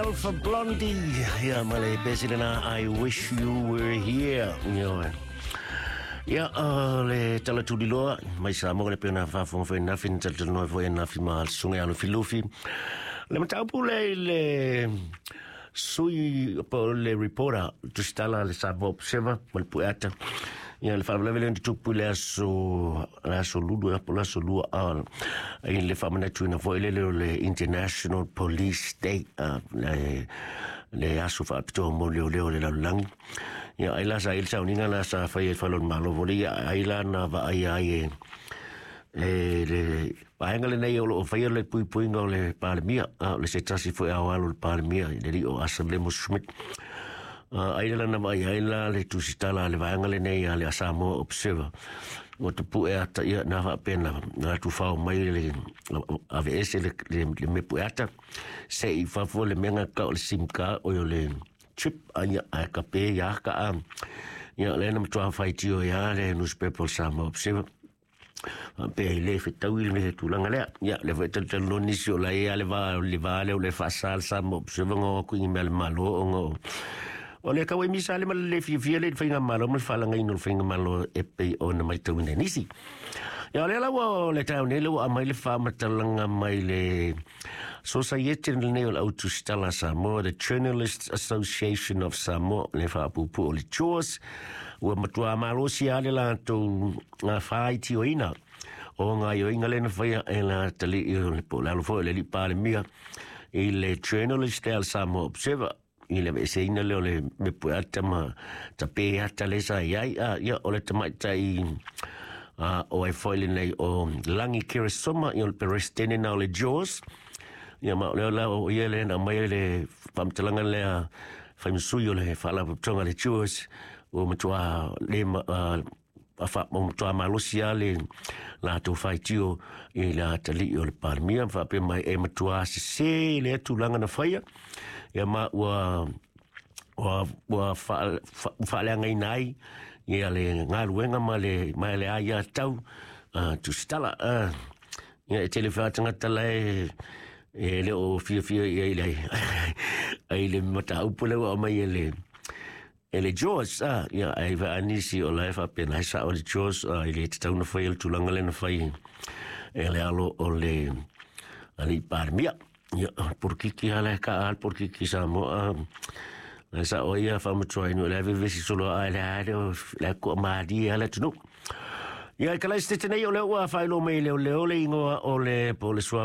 Alpha Blondy, ia ma le pese lena I Wish You Were Here. Ia, ia le tala tuliloa mai Samoa le pena faafofoga foi nafi na talatalanoa foi nafi ma le susuga ia Lufilufi. Le mataupu le i le sui po o le reporter tusitala le Samoa Observer ma le Pueata. Ia le faalavelave lea na tupu i le aso Lulu po o le aso Lua i le faamanatuina foi lele o le International Police Day, le aso faapitoa mo leoleo o le lalolagi. Ia ai la sa i le sauniga la sa fai e le Fale o le Malo foi ia ai la na vaaia ai e le vaega lenei o lo o faia le puipuiga o le Palemia, o le se tasi foi ao alo o le Palemia i le alii o Asa Lemo Schmidt. Ai la na vaai ai la le tusitala a le vaega lenei a le Samoa Observer ua tapue ata ia na faapena na tufao mai le aveese le mepu ata se i fafo le mea ka o le SIM card o le chip ai a ka pe ia ka a ia le na matua faitio ia le newspaper Samoa Observer pe i le fetaui le mea tulaga lea. Ia le foi talanoa nisi o la ia le va lea o le faasa le Samoa Observer ngo ku i mea le Malo o ngo o le kau e misa le ma le fiafia le faiga malo ma le faalagaina o le faiga malo e pei ona matauina e nisi. Ia o lea la ua o le taeao nei le ua aumai le faamatalaga mai le Sosaiete lenei o le Au Tusitala a Samoa, the Journalists Association of Samoa, le faapuupuu o le JAWS, ua matua malosi lava le latou faaitioina o gaoioiga lea na faia e le atalii o le po o le alo foi o le alii Palemia i le journalist lea a le Samoa Observer i le aveeseina lea o le mepu ata ma tape ata lea sa i ai. Ia, o le tamaitai o ai foi lenei o Lagi Keresoma, ia o le peresetene na o le JAWS. Ia ma o lea la o ia lea na aumai le faamatalaga lea faimasui o le faalapotopotoga a le JAWS ua matua le ua matua malosi lava le latou faitio i le atalii o le Palemia ma faapea mai e matua sese lea tulaga na faia ia ma ua faaleagaina ai ia le galuega ma le aiatatau tusitala. Ia e tele faatagata la e le o fiafia ia i le ai le mataupu lea ua aumai e le George ia ai vaanisi o la e faapena ai sao le George i le tatau na fai le tulaga lea na fai e le alo o le alii Palemia. Ia porokiki ala ka al porokiki Samoa le sao ia faamatuaina le vevesi solo a le ale le ko malie ala tunu. Ia, i kala se nei o le ua faailoa mai leoleo le igoa o le po o le suafa.